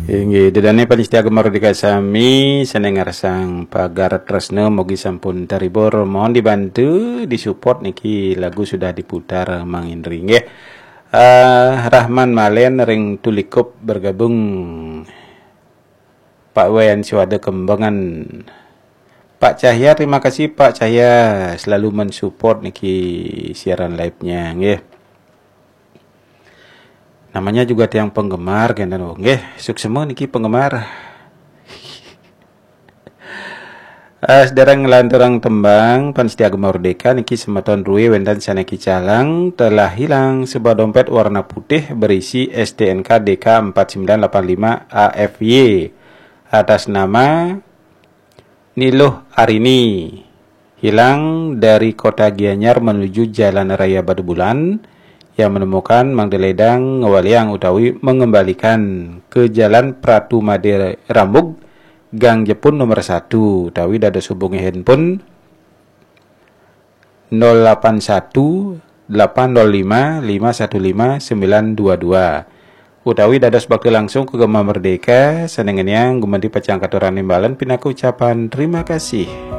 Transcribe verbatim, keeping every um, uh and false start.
Inggih, ida dané pamiarsa Gema Merdeka sami, sané ngarsang pagar tresna, mugi sampun terhibur. Mohon dibantu, disupport, niki lagu sudah diputar, Mang Indri, nggih. Eh, Rahman Malen ring Tulikup bergabung. Pak Wayan Suwada Kembangan. Pak Cahya, terima kasih Pak Cahya, selalu mensupport niki siaran live-nya, nggih. Namanya juga tiang penggemar, kénten, oh, nggih, suksma niki penggemar. Eh, sedereng nglanturang tembang, pamiarsa Gema Merdeka, niki semeton Rue wénten sané kicalang, telah hilang sebuah dompet warna putih berisi S T N K D K empat sembilan delapan lima A F Y atas nama Niluh Arini, hilang dari kota Gianyar menuju Jalan Raya Batubulan, yang menemukan Mang Deledang ngewaliang utawi mengembalikan ke Jalan Pratu Made Rambug, Gang Jepun nomor satu, utawi dados hubungi handphone nol delapan satu, delapan nol lima, lima satu lima, sembilan dua dua. Utawi dados bakti langsung ke Gema Merdeka, sané ngeniang gumanti pacang katuran imbalan pinaka ucapan terima kasih.